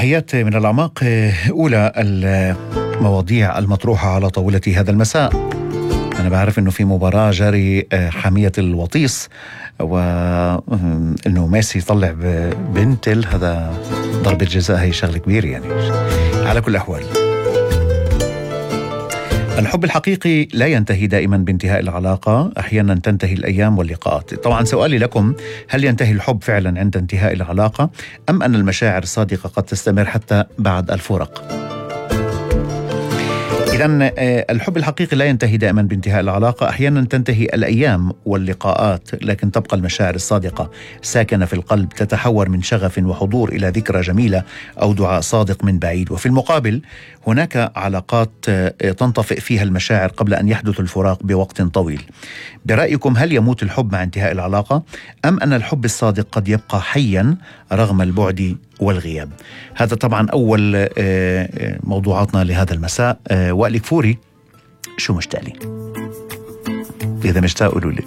تحياتي من الأعماق. أولى المواضيع المطروحة على طاولة هذا المساء. أنا بعرف أنه في مباراة جاري حامية الوطيس، وأنه ميسي يطلع بنتل، هذا ضربة جزاء، هي شغلة كبيرة يعني. على كل الأحوال، الحب الحقيقي لا ينتهي دائما بانتهاء العلاقة، أحيانا تنتهي الأيام واللقاءات. طبعا سؤالي لكم، هل ينتهي الحب فعلا عند انتهاء العلاقة، أم أن المشاعر الصادقة قد تستمر حتى بعد الفراق؟ إذن الحب الحقيقي لا ينتهي دائما بانتهاء العلاقة، أحيانا تنتهي الأيام واللقاءات، لكن تبقى المشاعر الصادقة ساكنة في القلب، تتحور من شغف وحضور إلى ذكرى جميلة أو دعاء صادق من بعيد. وفي المقابل هناك علاقات تنطفئ فيها المشاعر قبل أن يحدث الفراق بوقت طويل. برأيكم، هل يموت الحب مع انتهاء العلاقة، أم أن الحب الصادق قد يبقى حيا رغم البعد والغياب؟ هذا طبعا أول موضوعاتنا لهذا المساء. وائل كفوري، شو مشتاق لي؟ إذا مشتاق قولوا لي.